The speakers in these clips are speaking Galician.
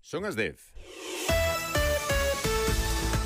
Son as 10.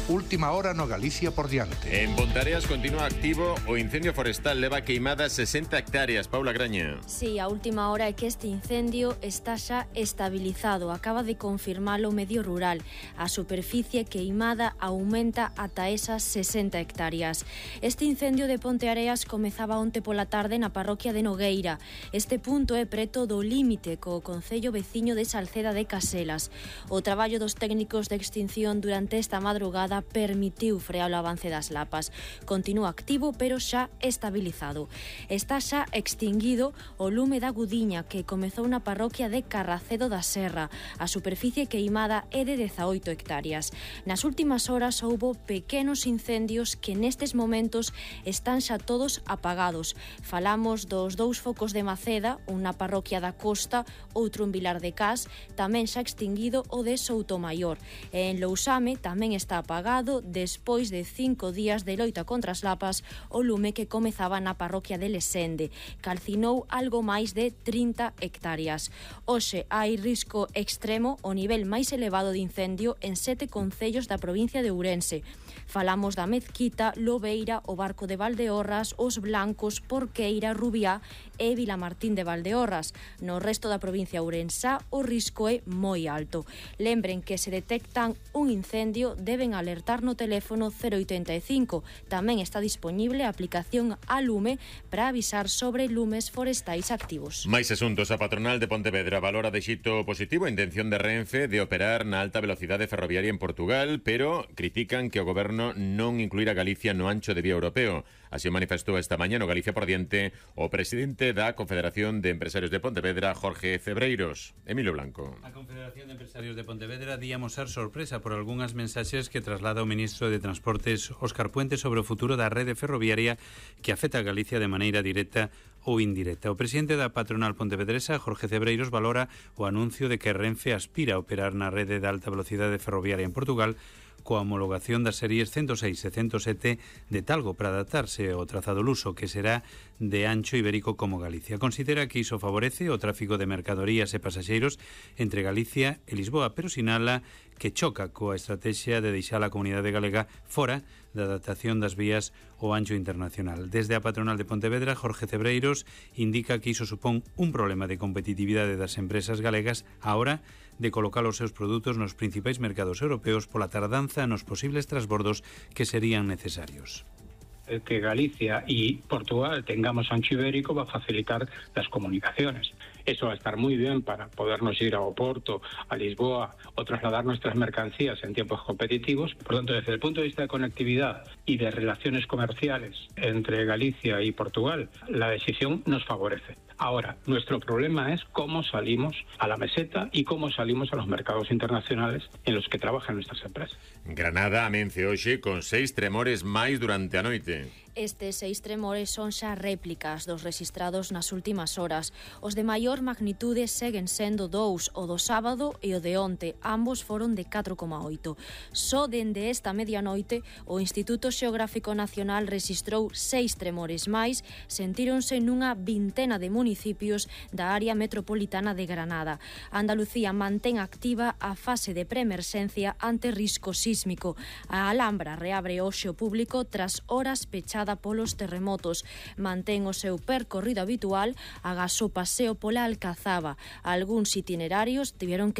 Última hora no Galicia por diante. En Pontareas continúa activo o incendio forestal, leva queimadas 60 hectáreas. Paula Graña. Sí, a última hora é que este incendio está xa estabilizado. Acaba de confirmalo o Medio Rural. A superficie queimada aumenta ata esas 60 hectáreas. Este incendio de Ponteareas comezaba onte pola tarde na parroquia de Nogueira. Este punto é preto do límite co concello veciño de Salceda de Caselas. O traballo dos técnicos de extinción durante esta madrugada permitiu frear o avance das lapas. Continúa activo, pero xa estabilizado. Está xa extinguido o lume da Gudiña, que comezou na parroquia de Carracedo da Serra. A superficie queimada é de 18 hectáreas. Nas últimas horas houbo pequenos incendios que nestes momentos están xa todos apagados. Falamos dos 2 focos de Maceda, un na parroquia da Costa, outro en Vilar de Cas, tamén xa extinguido o de Soutomaior. En Lousame tamén está apagado despois de 5 días de loita contra as lapas o lume que comezaba na parroquia de Lesende. Calcinou algo máis de 30 hectáreas. Hoxe hai risco extremo, o nivel máis elevado de incendio en 7 concellos da provincia de Ourense. Falamos da Mezquita, Lobeira, o Barco de Valdeorras, Os Blancos, Porqueira, Rubiá e Vilamartín de Valdeorras. No resto da provincia ourensá o risco é moi alto. Lembren que se detectan un incendio deben alertar no teléfono 085. Tamén está dispoñible a aplicación a lume para avisar sobre lumes forestais activos. Máis asuntos. A patronal de Pontevedra valora de xeito positivo a intención de Renfe de operar na alta velocidade ferroviaria en Portugal, pero critican que o goberno non incluirá Galicia no ancho de vía europeo. Así o manifestou esta mañá no Galicia por diante o presidente da Confederación de Empresarios de Pontevedra, Jorge Cebreiros. Emilio Blanco. A Confederación de Empresarios de Pontevedra di amosar sorpresa por algunhas mensaxes que traslada o ministro de Transportes, Óscar Puente, sobre o futuro da rede ferroviaria que afecta a Galicia de maneira directa ou indirecta. O presidente da patronal pontevedresa, Jorge Cebreiros, valora o anuncio de que Renfe aspira a operar na rede de alta velocidade ferroviaria en Portugal coa homologación das series 106 e 107 de Talgo para adaptarse ao trazado luso, que será de ancho ibérico como Galicia. Considera que iso favorece o tráfico de mercadorías e pasaxeiros entre Galicia e Lisboa, pero sinala que choca coa estrategia de deixar a comunidade galega fora da adaptación das vías ao ancho internacional. Desde a patronal de Pontevedra, Jorge Cebreiros indica que iso supón un problema de competitividade das empresas galegas á hora de colocar os seus produtos nos principais mercados europeos pola tardanza nos posibles transbordos que serían necesarios. Que Galicia y Portugal tengamos ancho ibérico va a facilitar las comunicaciones. Eso va a estar muy bien para podernos ir a Oporto, a Lisboa o trasladar nuestras mercancías en tiempos competitivos. Por lo tanto, desde el punto de vista de conectividad y de relaciones comerciales entre Galicia y Portugal, la decisión nos favorece. Ahora, nuestro problema es cómo salimos a la meseta y cómo salimos a los mercados internacionales en los que trabajan nuestras empresas. Granada amence hoxe con 6 tremores máis durante a noite. Estes 6 tremores son xa réplicas dos rexistrados nas últimas horas. Os de maior magnitude seguen sendo 2, o do sábado e o de onte. Ambos foron de 4,8. Só dende esta medianoite, o Instituto Xeográfico Nacional rexistrou 6 tremores máis, sentíronse nunha vintena de municipios da área metropolitana de Granada. Andalucía mantén activa a fase de preemerxencia ante risco sísmico. A Alhambra reabre hoxe o público tras horas pechadas polos terremotos. Mantén o seu percorrido habitual agás o paseo pola Alcazaba. Algúns itinerarios tiveron que